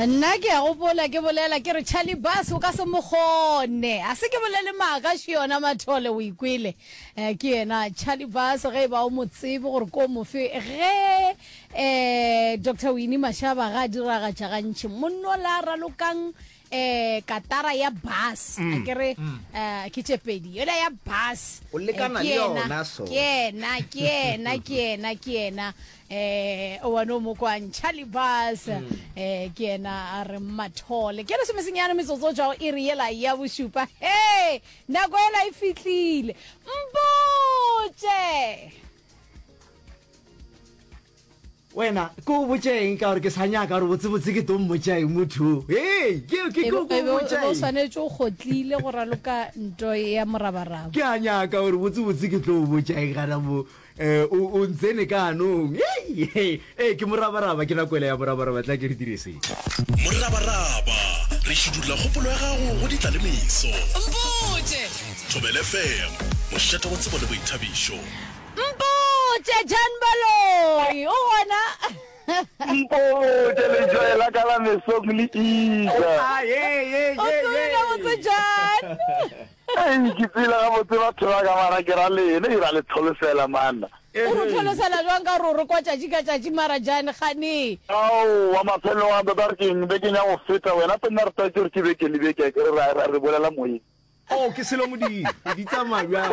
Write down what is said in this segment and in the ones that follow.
Nna ke a gopola ke bolela ke re Charlie Bass o ka se mo kgone. A se ke bolele maaka še yona Mathole o ikwele. Eh, ke yena Charlie Bass ge e ba o mo tsebe gore ko mofe ge eh Dr. Winnie Mashaba ga a diragatša gantši monnola a ralokang eh katara ya bass a ke re eh ke tše pedi yola ya bass O lekana eh, ke le yena, yona so. ke yena ke yena ke yena ke yena eh o wa no mo kwang Charlie Bass eh ke yena a re Mathole ke lesomesenyane metsotso tšwa go iri yela ya bošupa he nako yela e fihlile mpotše Wena, ke o botše eng ka gore ke sa nyaka gore botsebotse ke tlo mmotša eng motho? Hei, ke ke ke o botša eng? O eng? swanetše o kgotlile go raloka nto ya morabaraba. Ke a nyaka gore botsebotse ke tlo o botša eng gana mo. Eh, o o ntsene ka anong. Hei, hei, eh, ke morabaraba, ke nako ela ya morabaraba, tla ke re dire se. Morabaraba, re šidulla kgopolo ya gago go ditlalemeso. Mpotše! Thobela FM, mošate wa tsebo le boithabišo. Mpotše, Jan Baloyi o gona? Mpotše, Letšoe la ka la mesong le iša. O tsebile gabotse Jan? Ei, ke tsebile gabotse batho ba ka mara ke ra lena, e ra le tlholosela manna. O re tlholosela jwang ka gore o re kwa tšatši ka tšatši mara Jan gane? Aowa, mafelelong a tota re keng bekeng ya go feta wena Penna re tlwaetše gore ke beke le beke akere ra re bolela moyeng. Oh, ke selo modimo. Di tsamaya bjang?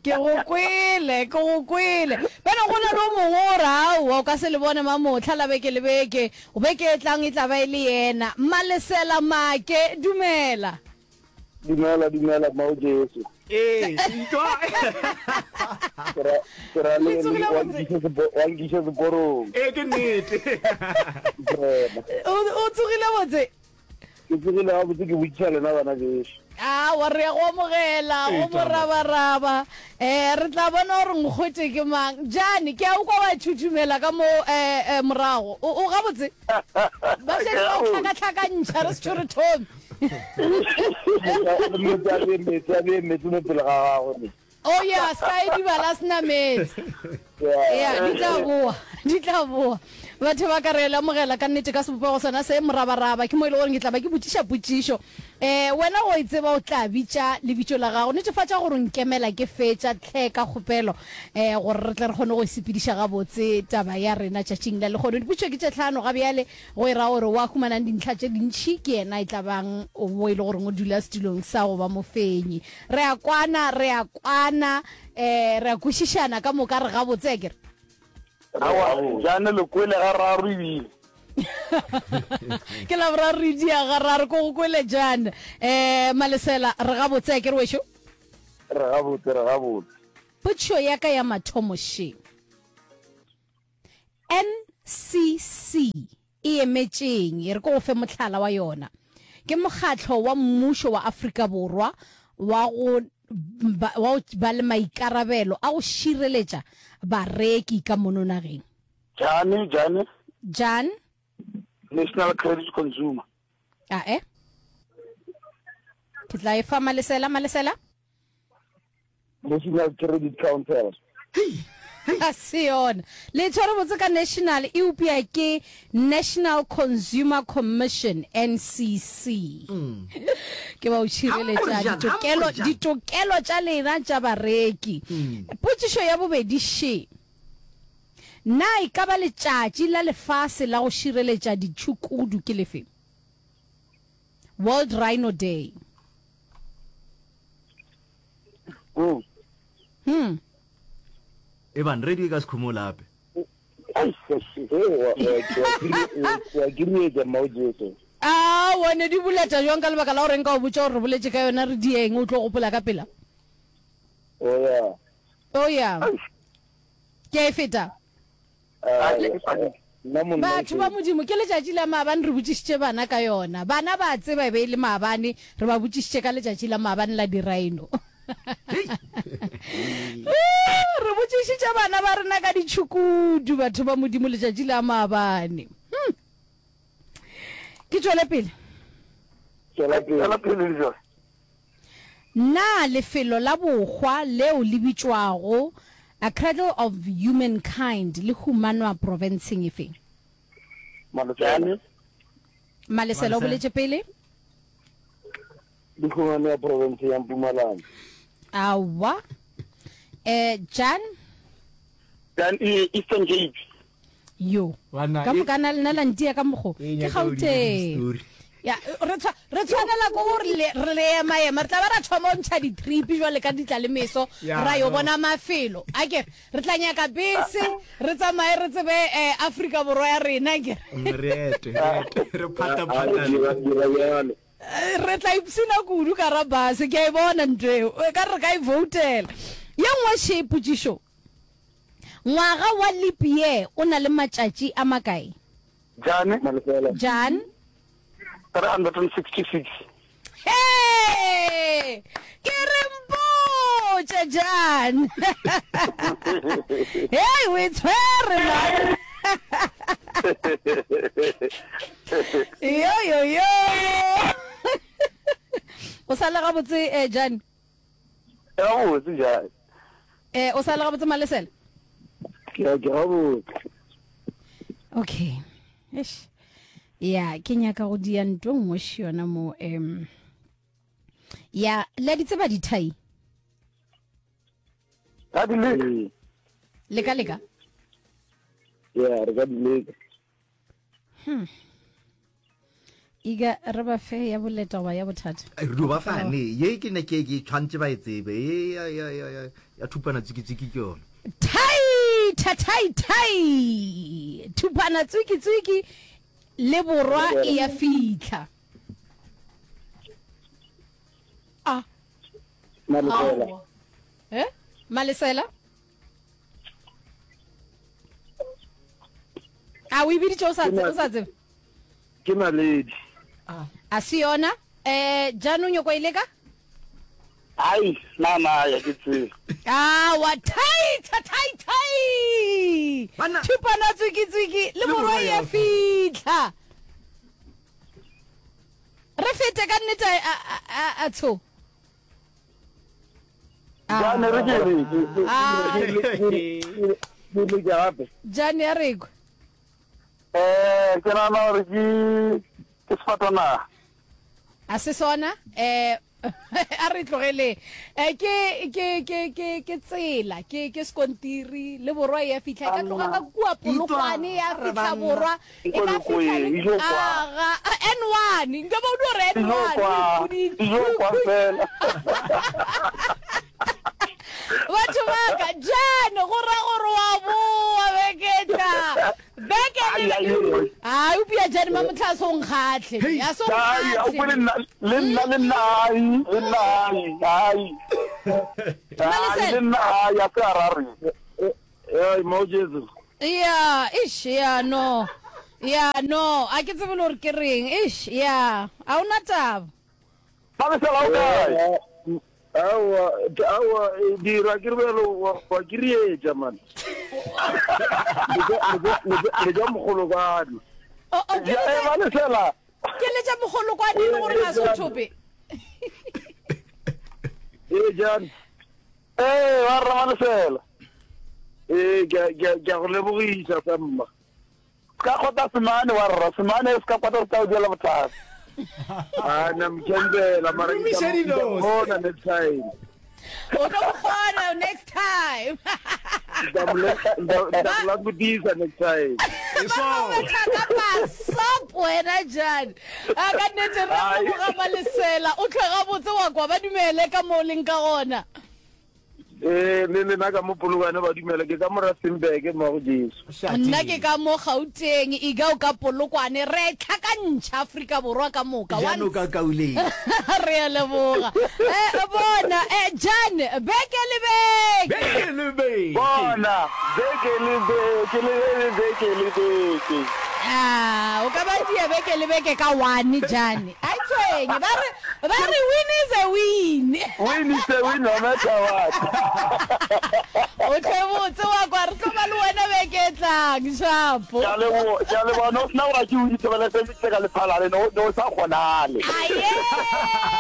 Ke go kwele, ke go kwele. Bjale go na le o mongwe o re, Aowa, o ka se le bone mamohla la beke le beke. Beke e tlang e tla ba e le yena. Malesela Make, dumela. Dumela, dumela, Mmao Jesu. Ee, ntwa. Ke ra, ke ra Le le, tsogile wa gabotse? nkiša sepo, wa nkiša seporong. Ee, ke nnete. Morena. O, o tsogile botse? Ke tsogile gabotse ke botšiša lena bana bešo. Aowa, re ya go amogela go morabaraba. Um re tla bona gore nkgwete ke mang. Jane, ke a o kwa wa thuthumela ka mo um morago. O, o gabotse? Ba šetše ba o hlakahlakantšha re se re thome. Meetse a bee meetse a bee meetse mo pele ga gagwe ne. Oh ya, se ka edibala a se na meetse. Ya, di tla boa, di tla boa. Batho ba ka re le amogela ka nnete ka sebopego sona se, morabaraba. Ke mo e le gore ke tla ba ke botšiša potšišo. Um wena go e tseba o tla bitša lebitšo la gago. Netefatša gore o nkemela ke fetša tlhe ka kgopelo, um gore re tle re kgone go e sepediša gabotse taba ya rena tšatšing la lehono. Dipotšišo ke tše tlhano ga bjale, go e ra gore wa humanang dintlha tše dintši ke yena e tla bang wo e le goreng o dula setulong sa go ba mofenyi. Re a kwana, re a kwana, eh, re a kwešišana ka moka, re gabotse, akere? Aowa, Jane le kwele gararo ebile. Ke la boraro re dia gararo, ko go kwele Jan. Eh, Malesela, re gabotse, akere wešo? Re gabotse, re gabotse. Potšišo ya ka ya mathomo še. NCC e emetšeng? E re ke go fe mohlala wa yona. Ke mokgatlo wa mmušo wa Afrika Borwa wa go ba, wa go ba le maikarabelo a go šireletša bareki ka mono nageng. Jane, Jane. Jan. National Credit Consumer. Ae. Ke tla e fa Malesela, Malesela. National Credit Council. Ga se yona. Le tshwere botse ka national, eupša ke National Consumer Commission, NCC. Ke ba o tšhireletša ditokelo, ditokelo tša lena tša bareki. Potšišo ya bobedi še, Na e ka ba letšatši la lefase la go šireletša ditšhukudu ke lefe? World Rhino Day. Mm. Hmm. Eban, radio e ka se khumo lape. Wa kirietša mmao Jesu. A one di boleta jwang ka lebaka la gore nka o botša gore re boletše ka yona re dieng o tlo gopola ka pela? Oh yeah. Oh yeah. Ke a e feta. Batho ba Modimo, ke letšatši la maabane re botšišitše bana ka yona. Bana ba a tseba e be e le maabane, re ba botšišitše ka letšatši la maabane la di-rhino. Re botšišitše bana ba rena ka ditšhukudu, batho ba Modimo, letšatši la maabane. Hmm. Ke tšwele pele. Tšwela pele. Na lefelo la bohwa leo le bitšwago A Cradle of Humankind le humanwa profenseng efe? Jane. Malesela o boletše pele. Di humanea profenseng ya Mpumalanga. Aowa. Eh, Jan? Jan, e, Eastern Cape. Yo. Banna, Ka e- moka na lena la ntia ka mokgo. E Ke nyaka o dire Gauteng. di-story. Ya, re tshwa re tshwanela ke gore le re le ema ema re tla ba ra thoma go ntšha di-trip jwale ka ditla le meso Ya, ra yo no. bona mafelo a kere re tla nyaka bese re tsamaye re tsebe eh, Afrika Borwa ya rena kere Re ete, re ete, re A, phata-phatane. dira, dira bjalo. Re tla ipshina kudu ka ra base, ke a e bona ntho eo. E ka re re ka e voutela. Ye nngwe še potšišo. Ngwaga wa leap year o na le matšatši a makae? Jan. Malefela. Jan. 366. Hee! Ke re mpotše, Jan. Hei, o e tshwere, man. Yo yo yo. O sa le gabotse eh Jan? Gabotse Jan. Eh o sa le gabotse Malesela? Ke ke gabotse. Okay. Eish. Ya, ke nyaka go dia nto nngwe še yona mo em. Ya, le di tseba dithai? Ka di leka. Leka leka. Ya, re ka di leka. Hmm. Iga re ba fe ya boleta goba ya bothata. Re dio ba fa ne ye ke ne ke ke tshwantse ba e tsebe ye ya ya ya ya ya thupana tsiki tsiki ke yona. Thai tha thai thai thupana tswiki tswiki le borwa e ya fitlha. A. Malesela. Eh? Malesela? A o e biditše o sa o sa tsebe? Ke naledi. A se yona. Eh, jaanong nyoko e leka? Ai, na na ya ke tsebe. Awa, thai tha thai thai. Banna. Thupana tswiki tswiki le Le morwa morwa ya ya fitlha. Re fete ka nnete a a a a tsho. Jane re ke re Ah. ke le gape. Jane ya re kwe. Eh ke nagana gore ke ke sefatanaga. A se sona eh a re tlogele eh ke ke ke ke ke tsela ke ke sekontiri le borwa ya fihla e ka tloga ka kua Polokwane ya fihla borwa e ka fihla le aga N1 nka ba o dio re N1 batho ba ka Jan go ra gore wa boa beketla beke le a upia Jan ma motho a so nkgatlhe a so nkgatlhe le nna le nna ai le nna ai ai le nna ai a se a ra re Hey, mo Jesu. Ya, ish, ya no. Ya no, a ke tsebe le gore ke reng. Ish, ya. A o na taba. Malesela o kae? Aowa, aowa, dira ke re bjalo wa wa ke rietša man. Le ja mogolokwane. O o ke Ja, eh, letša Malesela. ke letša mogolokwane e le gore ga se o thope. Ee, Jan. Ee, wa rra Malesela. Ee, ke a, ke a, ke a go lebogiša sa mma. Se ka kgota semane wa rra, semane se ka kgota se tla o diela bothata. A na mkhendela mara ke Romiša tla mo- ke tla dinose. mona next time. O tlo mo kgona next time. Ke tla mo le- ke tla- ke tla mo lakotisa next time. Ba tlo betha ka pasop wena Jan. A ka nnete re Ai. leboga Malesela. O tlhwe gabotse wa kwa ba dumele ka mo o leng ka gona. Ee, le lena ka mo Polokwane ba dumela ke ka mo Rustenburg mo go Jesu. Nna ke ka mo Gauteng, Iga o ka Polokwane, re e tlhakantšha Afrika Borwa ka moka. Jano ka Kauleng. Re a leboga. Eh, bona, eh, Jan, beke le beke. Beke le beke. Bona, beke le beke le le beke le beke. Ah, o ka ba dia beke le beke ka one, Jan. A e tshwenye, ba re Ba re win is a win. Win is a win no matter what. O tle botse wa kwa re tlo ba le wena beke e tlang shapo. Ke a leboga, ke a leboga. No sena gore ke o ithobele se ka lephalale no no sa kgonale. Aye.